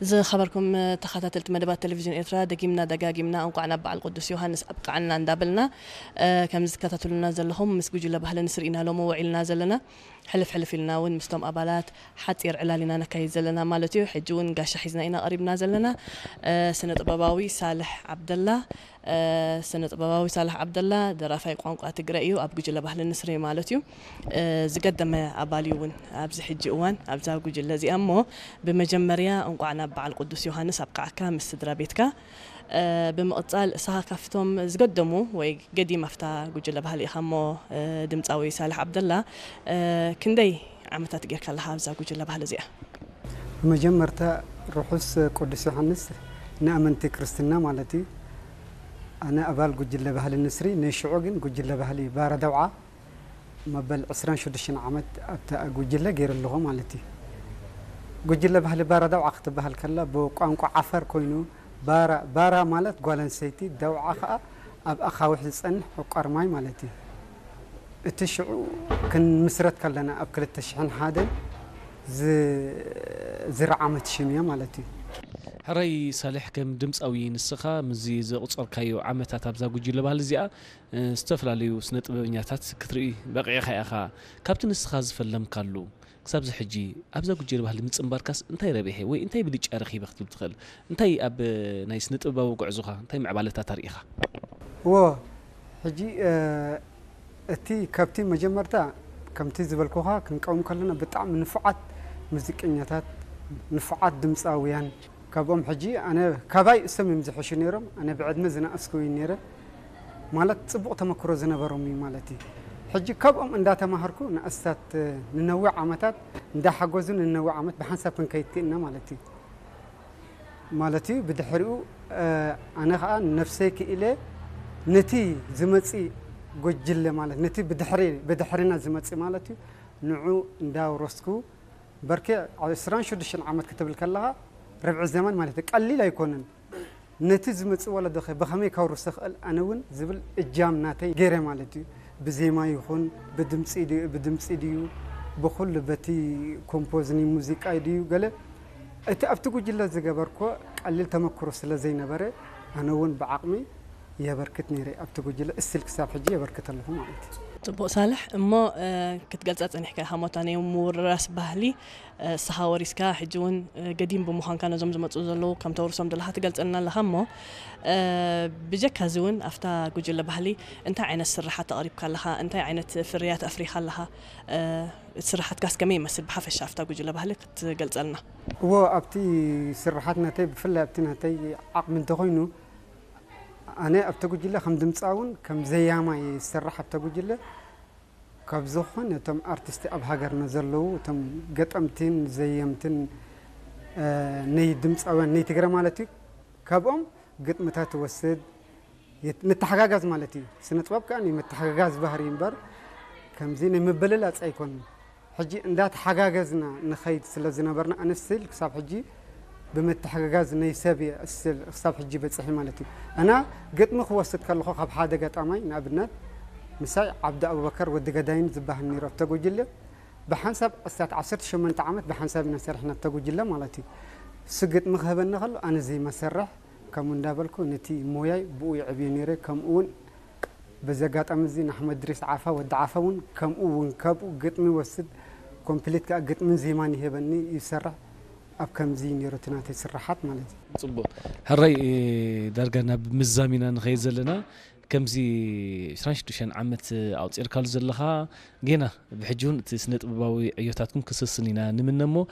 ዝኸበርኩም ተኸታተልቲ መደባት ቴሌቪዥን ኤርትራ፣ ደጊምና ደጋጊምና እንቋዕ ናብ በዓል ቅዱስ ዮሃንስ ኣብቅዓና እንዳበልና፣ እ፣ ከም ዝከታተሉና ዘለኹም ምስ ጉጅለ ባህሊ ንስሪ ኢና ሎሚ ውዒልና ዘለና። ሕልፍ ሕልፍ ኢልና እውን ምስቶም ኣባላት ሓጺር ዕላል ኢና ነካይድ ዘለና ማለት እዩ። ሕጂ እውን ጋሻ ሒዝና ኢና ቀሪብና ዘለና። እ፣ ስነ ጥበባዊ ሳልሕ ዓብደላ፣ እ፣ ስነ ጥበባዊ ሳልሕ ዓብደላ ደራፋይ ቋንቋ ትግረ እዩ፣ ኣብ ጉጅለ ባህሊ ንስሪ ማለት እዩ። እ፣ ዝገደመ ኣባል እዩ እውን ኣብዚ ሕጂ እዋን ኣብዛ ጉጅለ እዚኣ። እሞ ብመጀመርያ እንቋዕ ናብ በዓል ቅዱስ ዮሃንስ ኣብቅዓካ ምስ ስድራ ቤትካ። እ፣ ብምቕጻል እሳኻ ካብቶም ዝገደሙ ወይ ገዲም ኣብታ ጉጅለ ባህሊ ኢኻ። እሞ፣ እ፣ ድምጻዊ ሳልሕ ዓብደላ፣ እ፣ ክንደይ ዓመታት ጌርካ ኣለኻ ኣብዛ ጉጅለ ባህሊ እዚኣ? ብመጀመርታ ርሑስ ቅዱስ ዮሃንስ ንኣመንቲ ክርስትና ማለት እዩ። ኣነ ኣባል ጉጅለ ባህሊ ንስሪ፣ ናይ ሽዑ ግን ጉጅለ ባህሊ ባራ ደውዓ መበል ዕስራን ሽዱሽተን ዓመት ኣብታ ጉጅለ ገይረ ኣለኹ ማለት እዩ። ጉጅለ ባህሊ ባራ ደውዓ ክትበሃል ከላ ብቋንቋ ዓፋር ኮይኑ፣ ባራ፣ ባራ ማለት ጓል ኣንስተይቲ፣ ደውዓ ከኣ ኣብ ኣኻውሕ ዝጸንሕ ዕቋር ማይ ማለት እዩ። እቲ ሽዑ ክንምስረት ከለና ኣብ ክልተ ሽሕን ሓደን ዝ-፣ ዝረዓመት ሽም እያ ማለት እዩ። ሕራይ ሳልሕ፣ ከም ድምጻዊ ንስኻ ምስዚ ዘቑጸርካዮ ዓመታት ኣብዛ ጉጅለ ባህሊ እዚኣ፣ እ፣ ዝተፈላለዩ ስነ ጥበበኛታት ክትርኢ በቒዕካ ኢኻ። ካብቲ ንስኻ ዝፈለምካሉ ክሳብዚ ሕጂ ኣብዛ ጉጅለ ባህሊ ምጽንባርካስ እንታይ ረብሐ ወይ እንታይ ብልጫ ረኺበ ክትብል ትኽእል? እንታይ ኣብ፣ እ፣ ናይ ስነ ጥበባዊ ጉዕዞኻ እንታይ ምዕባለታት ኣርኢኻ? እዎ፣ ሕጂ፣ እ፣ እቲ ካብቲ መጀመርታ ከምቲ ዝበልኩኻ ክንቀውም ከለና ብጣዕሚ ንፉዓት ሙዚቀኛታት፣ ንፉዓት ድምጻውያን፣ ካብኦም ሕጂ ኣነ ካባይ እሶም እዮም ዝሕሹ ነይሮም። ኣነ ብዕድመ ዝነኣስኩ እዩ ነይረ። ማለት ጽቡቕ ተመክሮ ዝነበሮም እዩ ማለት እዩ። ሕጂ ካብኦም እንዳተማሃርኩ ንኣስታት ንነዊሕ ዓመታት እንዳሓገዙ ንነዊሕ ዓመት ብሓንሳብ ክንከይድ ክኢልና ማለት እዩ። ማለት እዩ ብድሕሪኡ፣ እ፣ ኣነ ኸኣ ነፍሰይ ክኢለ ነቲ ዝመጽእ ጉጅለ ማለት ነቲ ብድሕሪ፣ ብድሕሪና ዝመጽእ ማለት እዩ ንዑ እንዳውረስኩ በርኬ ዕስራን ሽዱሽተን ዓመት ክትብል ከለኻ ርብዒ ዘመን ማለት እዩ። ቀሊል ኣይኮነን። ነቲ ዝመጽእ ወለዶ ኸ ብኸመይ ከውርሶ ክእል? ኣነ እውን ዝብል እጃም ናተይ ገይረ ማለት እዩ። ብዜማ ይኹን ብድምጺ ድዩ፣ ብድምጺ ድዩ፣ ብኹሉ በቲ ኮምፖዝ ናይ ሙዚቃ ድዩ፣ ገለ እቲ ኣብቲ ጉጅለ ዝገበርኮ ቀሊል ተመክሮ ስለ ዘይነበረ፣ ኣነ እውን ብዓቕሚ የበርክት ነይረ ኣብቲ ጉጅለ፣ እስቲል ክሳብ ሕጂ የበርክት ኣለኹ ማለት እዩ። ጽቡቕ ሳልሕ፣ እሞ፣ እ፣ ክትገልጻ ጸኒሕካ ኢኻ፣ ሞታ ናይ ምውርራስ ባህሊ፣ እ፣ ንስኻ ወሪስካ፣ ሕጂ እውን፣ እ፣ ገዲም ብምዃንካ ነዞም ዝመጹ ዘለዉ ከም ተውርሶም ዘለኻ ትገልጸልና ኣለኻ። እሞ፣ እ፣ ብጀካ እዚ እውን ኣብታ ጉጅለ ባህሊ እንታይ ዓይነት ስርሓት ኣቕሪብካ ኣለኻ? እንታይ ዓይነት ፍርያት ኣፍሪኻ ኣለኻ? እ፣ እቲ ስርሓትካስ ከመይ ይመስል? ብሓፈሻ ኣብታ ጉጅለ ባህሊ ክትገልጸልና። እዎ፣ ኣብቲ ስርሓት ናተይ፣ ብፍላይ ኣብቲ ናተይ ዓቕሚ እንተኾይኑ፣ ኣነ ኣብቲ ጉጅለ ከም ድምጻውን ከም ዘያማይ ዝሰርሕ ኣብቲ ጉጅለ፣ ካብ ዝኾነ እቶም ኣርቲስቲ ኣብ ሃገርና ዘለዉ፣ እቶም ገጠምትን ዘየምትን፣ እ፣ ናይ ድምጻውያን ናይ ትግረ ማለት እዩ፣ ካብኦም ግጥምታት ትወስድ፣ የት-፣ ንተሓጋጋዝ ማለት እዩ። ስነ ጥበብ ከኣ ናይ ምትሕግጋዝ ባህሪ እምበር ከምዚ ናይ ምብልላጽ ኣይኮንን። ሕጂ እንዳተሓጋገዝና ንኸይድ ስለ ዝነበርና፣ ኣነ ስቲል ክሳብ ሕጂ ብምትሕግጋዝ ናይ ሰብ እየ ስቲል ክሳብ ሕጂ በጺሐ ማለት እዩ። ኣና ግጥሚ ክወስድ ከለኹ ካብ ሓደ ገጣማይ ንኣብነት ምሳይ ዓብዲ ኣቡበከር ወዲ ገዳይን ዝበሃል ነይሩ ኣብተ ጉጅለ ብሓንሳብ ኣስታት ዓሰርተ ሸሞንተ ዓመት ብሓንሳብ ኢና ሰሪሕና ኣብተ ጉጅለ ማለት እዩ። እሱ ግጥሚ ክህበኒ ከሎ ኣነ ዘይመሰርሕ ከምኡ እንዳበልኩ ነቲ ሞያይ ብኡ የዕብዮ ነይረ። ከምኡ እውን በዚ ኣጋጣሚ እዚ ንኣሕመድ ድሪስ ዓፋ፣ ወዲ ዓፋ እውን ከምኡ እውን ካብኡ ግጥሚ ይወስድ፣ ኮምፕሊት ከኣ ግጥምን ዜማን ይህበኒ፣ ይሰርሕ። ኣብ ከምዚ ነይሩ እቲ ናተይ ስርሓት ማለት እዩ። ጽቡቕ። ሕራይ፣ እ፣ ዳርጋ ናብ ምዛም ኢና ንኸይድ ዘለና። ከምዚ ዕስራን ሽዱሽተን ዓመት ኣውጺእካሉ ዘለኻ፣ ጌና ብሕጂ እውን እቲ ስነ ጥበባዊ ዕዮታትኩም ክስስን ኢና ንምነ እሞ፣